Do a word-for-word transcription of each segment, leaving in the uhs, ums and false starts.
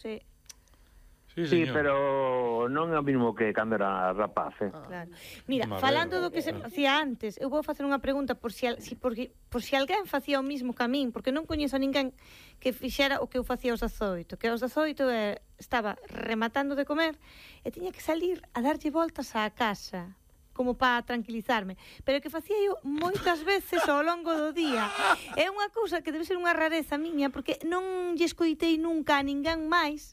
Sí. Sí, Sí, señor. pero non é o mismo que cando era rapaz, eh? Claro. Mira, Madre, falando do que se claro. facía antes, eu vou facer unha pregunta por si, al- si, por, por si alguén facía o mismo que a min, porque non coñezo a ninguén que fixera o que eu facía aos dezoito, que aos dezoito eh, estaba rematando de comer e tiña que salir a darlle voltas á casa como para tranquilizarme, pero que facía eu moitas veces ao longo do día. É unha cousa que debe ser unha rareza miña, porque non lle escoitei nunca a ninguén máis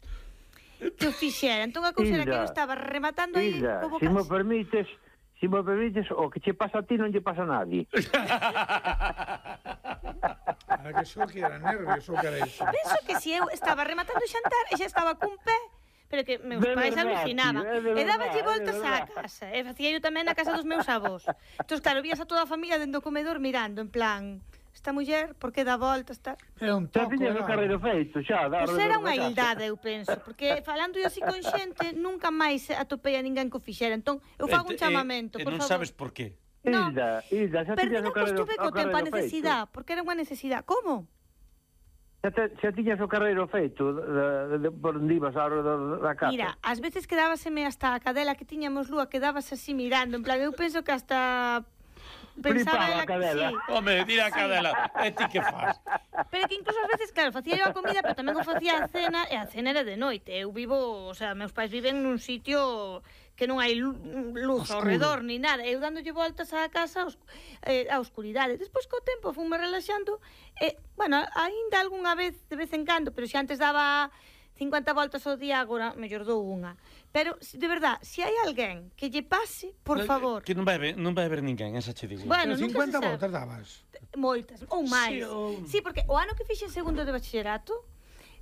que o fixera. Entón a cousa era que eu estaba rematando aí Hilda, como se me casi. permites, se me permites, o que che pasa a ti non lle pasa a nadie. A que só que era nervios, só que era iso. Penso que se eu estaba rematando o xantar e xa estaba cun pé, pero que meus De pais verdad, alucinaban. tío, é de E daballe verdad, é de voltas á verdad. casa. E facía eu tamén na casa dos meus avós. Entón, claro, vías a toda a familia dentro do comedor mirando, en plan, esta muller, por que dá voltas, tal? Era un Xa toco, tiñas o era... carreiro feito, xa. Pois era unha hildade, eu penso, porque falando eu así con xente, nunca máis atopei a ninguén que o fixera. Entón, eu fago un E- e- chamamento, e por non favor. sabes por qué. No. Hilda, Hilda, xa Pero tiñas non o carreiro, costuve o co tempo a carreiro feito. necesidade, porque era unha necesidade. Como? Xa, te, xa tiñas o carreiro feito de, de, de, por onde ibas ao redor da casa. Mira, ás veces quedábaseme hasta a cadela que tiñamos lúa, quedabas así mirando, en plan, eu penso que hasta pensaba Flipaba ela a que cadela. sí. Home, tira a cadela. E ti que faz? Pero que incluso ás veces, claro, facía eu a comida, pero tamén o facía a cena, e a cena era de noite. Eu vivo, o sea, meus pais viven nun sitio que non hai lu- luz ao redor ni nada. Eu dándolle voltas á casa aos, eh, á oscuridade. Despois, co tempo, fume relaxando. E, bueno, aínda algunha vez, de vez en cando, pero se antes daba cincuenta voltas ao día, agora mellor dou unha. Pero, si- de verdad, se hai alguén que lle pase, por favor. Que non vai ver, non vai ver ninguén, esa che digo. Bueno, Pero nunca cincuenta se sabe. voltas dabas. Moitas, ou máis. Sí, ou- Sí, porque o ano que fixen segundo de bachillerato,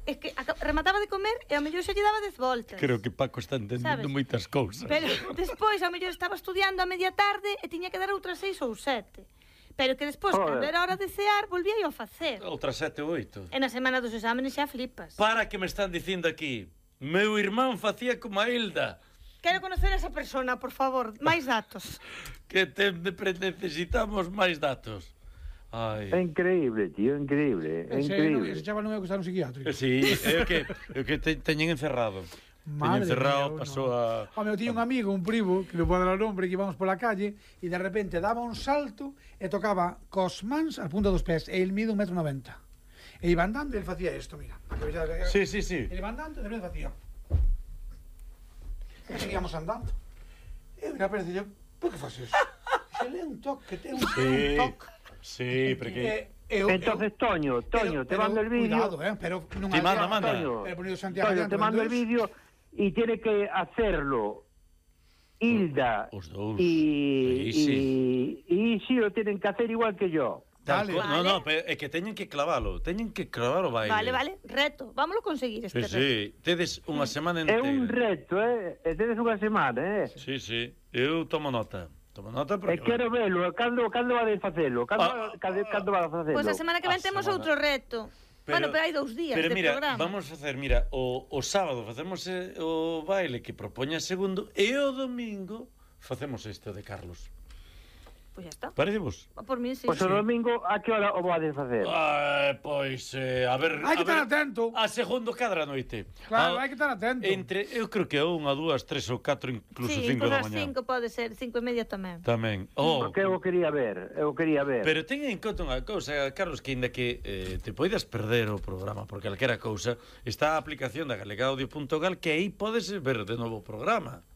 é que aca- remataba de comer e ao mellor xa lle daba dez voltas. Creo que Paco está entendendo Sabes? moitas cousas. Pero despois, ao mellor estaba estudiando a media tarde e tiña que dar outras seis ou sete. Pero que despois, Joder. cando era hora de cear, volvía eu a facer. Outras sete ou oito. E na semana dos exámenes xa flipas. Para que me están dicindo aquí. Meu irmán facía como a Hilda. Quero conocer a esa persona, por favor. Máis datos. Que te, pre- necesitamos máis datos. Ai. É increíble, tío, é increíble, é Ese, no, ese increíble. chaval non é que está no psiquiátrico. Eh, Sí, é o que, é o que te, teñen encerrado. Teñen Madre encerrado, mía, pasou no. a... Home, eu tiña un amigo, un primo, que non pode dar o nombre, que íbamos pola calle e de repente daba un salto e tocaba cos mans a punta dos pés e el mide un metro noventa. E iba andando e el facía isto, mira. Sí, sí, sí. Ele iba andando e de repente facía. E seguíamos andando. E mira, parece yo, por que faz eso? Se le un toque, ten un, Sí, un toque. sí, porque... E- eu- Entonces, eu- Toño, Toño, pero- te mando el pero vídeo. Cuidado, eh, pero non Te hai- manda, manda. Toño, Pero ponido Santiago Toño, adiante, te mando el entonces- vídeo y tiene que hacerlo Hilda Os dous. y, Aí sí. y, y sí lo tienen que hacer igual que yo. Tal Dale. co- No, Vale. no, pero é que teñen que clavalo. Teñen que clavar o baile. Vale, vale, reto. Vámoslo conseguir Sí, este reto. sí. Tedes unha semana É entera. un reto, eh? E tedes unha semana, eh? Sí, sí. Eu tomo nota. Tomo nota E porque... quero velo, cando, cando vades facelo? Cando, Ah, cando, cando vas a facelo? Pois a semana que ven A temos semana. outro reto. Bueno, pero hai dous días pero de mira, programa. vamos a facer, mira, o, o sábado facemos eh, o baile que propoña segundo e o domingo facemos este de Carlos. Pois xa está. Parece vos? Por mí, sí. Pois o domingo, a que hora o vades facer? Ah, pois, eh, a ver... Hai que a ver, estar atento. A segundo cadra noite. Claro, A- hai que estar atento. Entre, eu creo que a unha, dúas, tres ou catro, incluso Sí, cinco incluso da as mañá. cinco pode ser, cinco e media tamén. Tamén. Oh, Porque eu o quería ver, eu o quería ver. pero ten en conta unha cousa, Carlos, que ainda que eh, te poidas perder o programa por calquera cousa, está a aplicación da galegaudio punto gal que aí podes ver de novo o programa.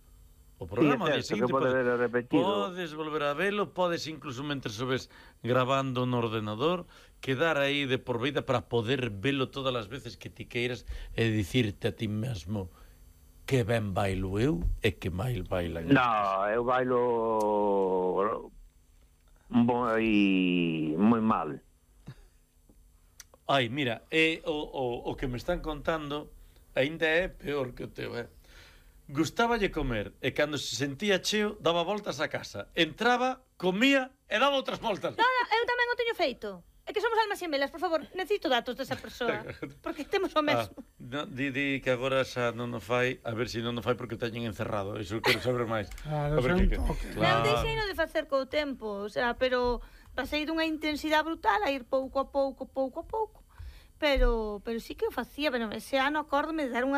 O programa Sí, é de certo, que pode ver repetido. Podes volver a velo, podes incluso mentre o ves grabando no ordenador, quedar aí de por vida para poder velo todas as veces que ti queiras e dicirte a ti mesmo que ben bailo eu e que mal bailan. No, eu bailo moi, moi mal. Ai, mira, é o, o, o que me están contando aínda é peor que o teu, eh? Gustáballe comer e cando se sentía cheo daba voltas a casa. Entraba, comía e daba outras voltas. No, no, eu tamén o teño feito. É que somos almas gemelas, por favor, necesito datos desa persoa. Porque temos o Ah, mesmo. no, di, di que agora xa non o fai, a ver se non o fai porque o teñen encerrado. Iso quero saber máis. Claro, A ver son que- toque. Non, deixeino de facer co tempo, o sea, pero pasei dunha intensidade brutal a ir pouco a pouco, pouco a pouco. pero pero sí que o facía, pero ese ano acórdome de dar unha de